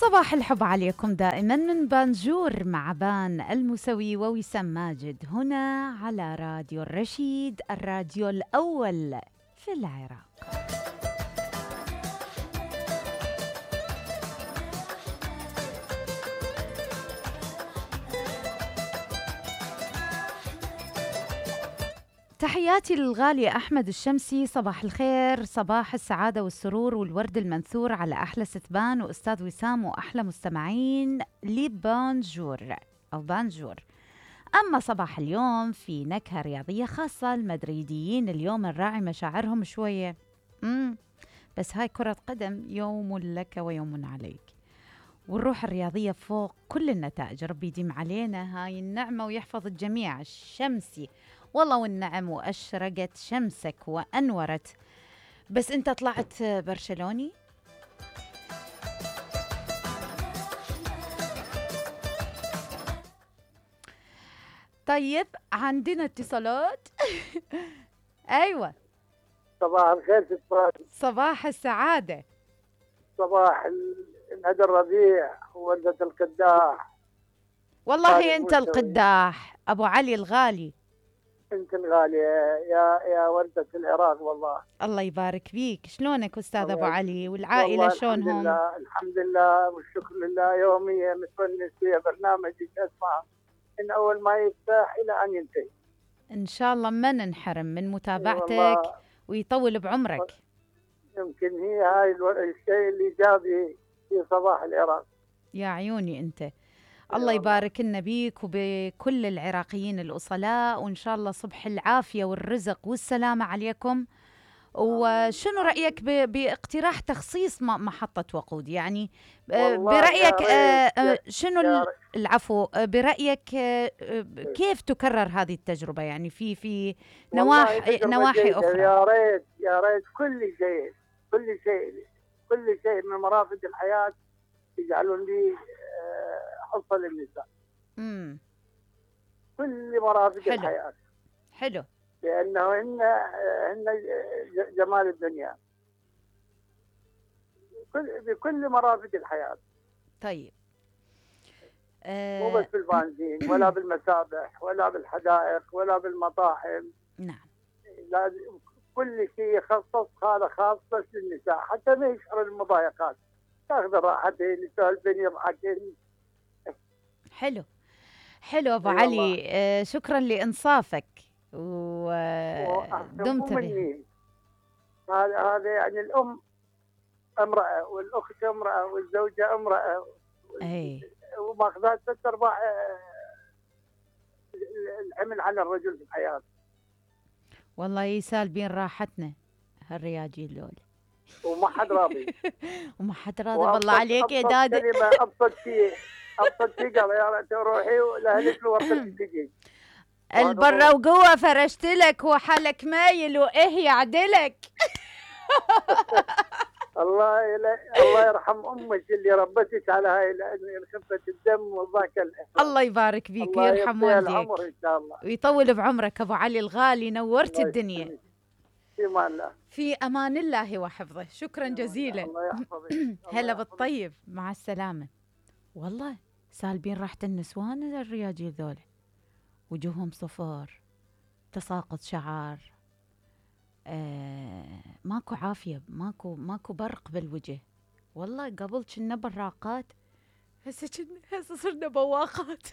صباح الحب عليكم دائما من بانجور مع بان المسوي ووسام ماجد هنا على راديو الرشيد، الراديو الأول في العراق. تحياتي للغالي أحمد الشمسي، صباح الخير، صباح السعادة والسرور والورد المنثور على أحلى ستبان وأستاذ وسام وأحلى مستمعين لبانجور أو بانجور. أما صباح اليوم في نكهة رياضية خاصة، المدريديين اليوم نراعي مشاعرهم شوية. بس هاي كرة قدم، يوم لك ويوم عليك، والروح الرياضية فوق كل النتائج. ربي يديم علينا هاي النعمة ويحفظ الجميع. الشمسي والله والنعم، وأشرقت شمسك وأنورت. بس أنت طلعت برشلوني؟ طيب عندنا اتصالات. أيوة، صباح الخير ست. صباح السعادة. صباح الهدى الربيع ووردة القداح. والله أنت القداح أبو علي الغالي. أنت الغالية يا وردة العراق والله. الله يبارك فيك. شلونك أستاذ أبو علي والعائلة شلونهم؟ الحمد لله والشكر لله. يوميا متونس في برنامجك، أسمع من أول ما يفتح إلى أن ينتهي. إن شاء الله ما ننحرم من متابعتك ويطول بعمرك. يمكن هي هاي الشيء الإيجابي في صباح العراق. يا عيوني أنت. الله يبارك لنا بيك وبكل العراقيين الأصلاء، وإن شاء الله صبح العافية والرزق والسلامة عليكم. وشنو رأيك باقتراح تخصيص محطة وقود؟ يعني برأيك شنو العفو، برأيك كيف تكرر هذه التجربة؟ يعني في نواحي أخرى. يا ريت كل شيء من مرافق الحياة يجعلون لي حصة للنساء. كل مرافق الحياة. حلو. لأنه هن جمال الدنيا بكل مرافق الحياة. طيب. مو بس بالبنزين ولا بالمسابح ولا بالحدائق ولا بالمطاعم. نعم. لازم كل شيء يخصص، هذا خاص بس للنساء، حتى ما يشعروا المضايقات. تاخذ راحتين، يسولفين، يضحكين. حلو أبو علي. شكرا لإنصافك ودمت به. هذا يعني الأم امرأة، والأخت امرأة، والزوجة امرأة. وماخذات 3/4 الحمل على الرجل في الحياة. والله يسالبين راحتنا هالرياجيل دول. وما حد راضي. بالله عليك يا دادي. كلمة أبسط شيء قال يا تروحي ولأهلك ورثتك تجي. البرة وقوة فرشت لك وحالك مايل وإيه يعدلك. الله يرحم أمك اللي ربتك على هاي خفة الدم والضحك. الله يبارك فيك ويرحم والديك إن شاء الله ويطول بعمرك أبو علي الغالي. نورت الدنيا. في أمان الله. في أمان الله وحفظه. شكرا جزيلا. الله يحفظك. هلا بالطيب، مع السلامة. والله سالبين راحة النسوان الرياجيل ذولا، وجوههم صفر، تساقط شعر، ماكو عافية، ماكو برق بالوجه. والله قبل كنا براقات، هسه صرنا بواقات.